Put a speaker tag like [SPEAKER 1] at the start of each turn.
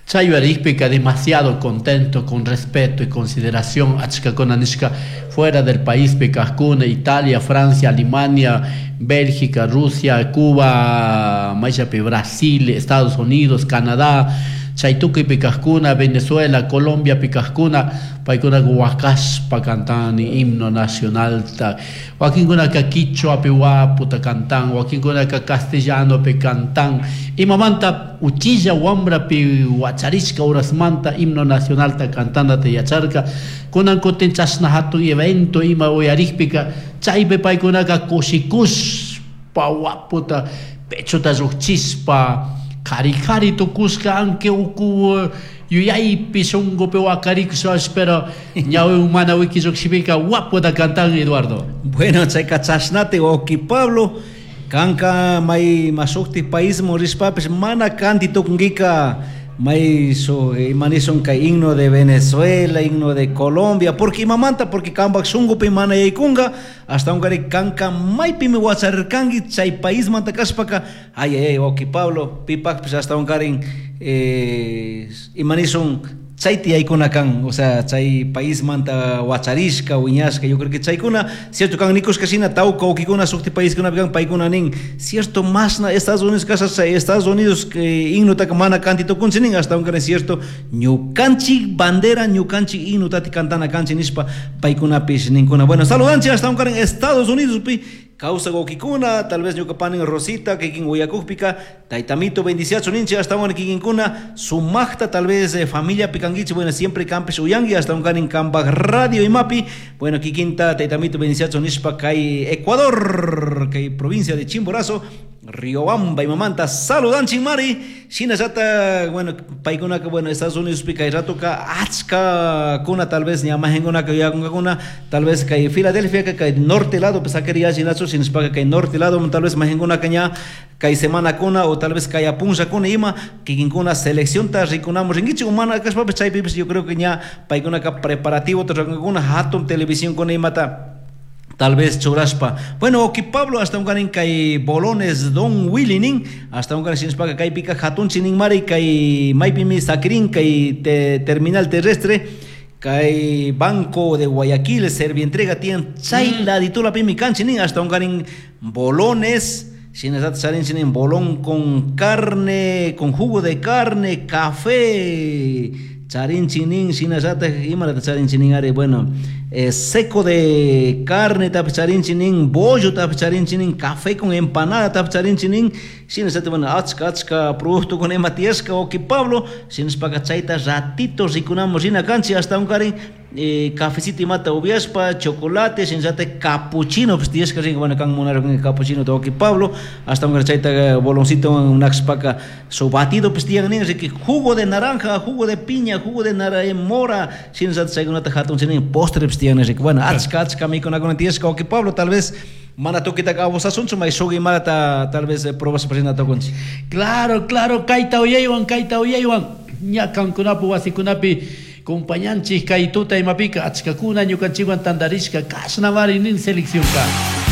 [SPEAKER 1] Chay yuyarikpika demasiado contento, con respeto y consideración achkakuna nishka fuera del paispi kajkuna, Italia, Francia, Alemania, Bélgica, Rusia, Cuba, mayllapi Brasil, Estados Unidos, Canadá, chay tukuypi kajkuna, Venezuela, Colombiapi kajkuna, paykunaka wakashpa cantani himno nacionalta, wakinkunaka quichuapi waputa cantan, wakinkunaka castellanopi cantan, imamanta uchilla wambrapi wacharishka horasmanta himno nacionalta cantanata yacharka, kunan kutin chashna hatun evento ima uyarikpika chaypi paykunaka kushikushpa waputa pechota llukchishpa kari kari tukushka anque uku yuyaypi shunkupi wakarikushpash pero ñawi mana wiki llukshipika waputa cantan, Eduardo.
[SPEAKER 2] Bueno, chayka chashnati wawki Pablo, kanka may mashukti paisman rishpapish mana kanti tukunkika may shuk ima nishun kay himno de Venezuela, himno de Colombia, porque imamanta, porque kanpak shunkupi mana yaykunka, ashtawankari kanka maypimi wacharirkanki chay paismanta kashpaka, ay ay ay wawki Pablo, pipakpish ashtawankarin ima nishun chayta yaykuna kan, o sea, chay paismanta wacharishka, wiñashka, yo creo que chaykuna, cierto kan nikushka shina tawka wawkikuna shukti paiskunapi kan, paykuna nin, cierto mashna Estados Unidos kasha chay Estados Unidos himnotaka mana kanti tukunchik nin, ashtawankarin cierto ñukanchik bandera, ñukanchik himnotati cantana kanchik nishpa paykunapish ninkuna. Bueno, saludanchik ashtawankarin Estados Unidospi kawsak wawkikuna, tal vez ñuka panin Rosita kikin uyakukpika, taytamito bendiciachu ninchik, ashtawan kikinkuna sumakta tal vez familiapi kankichik, bueno, siempre kanpish uyanki, ashtawankarin kanpak radio imapi, bueno, kikinta taytamito bendiciachu nishpa kay Ecuador, kay provincia de Chimborazo, Riobamba imamanta saludanchik mari, shinallata, bueno, paykunaka, bueno, Estados Unidospi kay ratoka achkakuna tal vez ña majenkunaka yuyakunkakuna, tal vez kay Filadelfia kay norte lado pues sakiri yallinachu, shinashpaka kay norte lado tal vez majenkunaka ña kay semanakuna o tal vez kay punllakuna ima kikinkuna seleccionta rikunamun rinkichik o mana kashpapish chaypipish yo creo que ña paykunaka preparativo rurankakuna hatun televisionkuna imata tal vez churashpa. Bueno, wawki Pablo, ashtawankarin kay Bolones Don Willy nin, ashtawankarin shinashpaka kaypika hatunchi nin mari kay maypimi sakirin kay terminal terrestre, kay Banco de Guayaquil, Servientrega tiyan chay laditulapimi kanchik nin, ashtawankarin Bolones, shinallatak charinchik nin bolón con carne, con jugo de carne, café, charinchik nin, shinallatak imalata charinchik nin ari, bueno, seco de carne tapish charinchik nin, bollo tapish charinchik nin, café con empanada tapish charinchik nin, shinallatak, bueno, achka achka productokuna ima tiyashka wawki Pablo, shinashpaka chayta ratito rikunamun rina kanchik, ashtawankarin cafecito imata upiashpa, chocolate, shinallatak capuchino pish tiyashka rinka, bueno, kan munarkanki capuchino wawki Pablo, ashtawankarin chayta boloncito nakshpaka su batido pish tiyan nin, riki jugo de naranja, jugo de piña, jugo de mora, shinallatak chaykunata hatunchik nin, postre pish tiyan nin, riki, bueno, achka achka mikunakuna tiyashka wawki Pablo, tal vez mana tukitaka abusasunchu, may shuk imalata tal vez probashpa rina tukunchik.
[SPEAKER 1] Claro, claro, kayta uyaywan, kayta uyaywan, ña kankunapu wasikunapi compañanchik kay tuta imapika achkakuna ñukanchikwan tantarishka kashnamari nin seleccionka.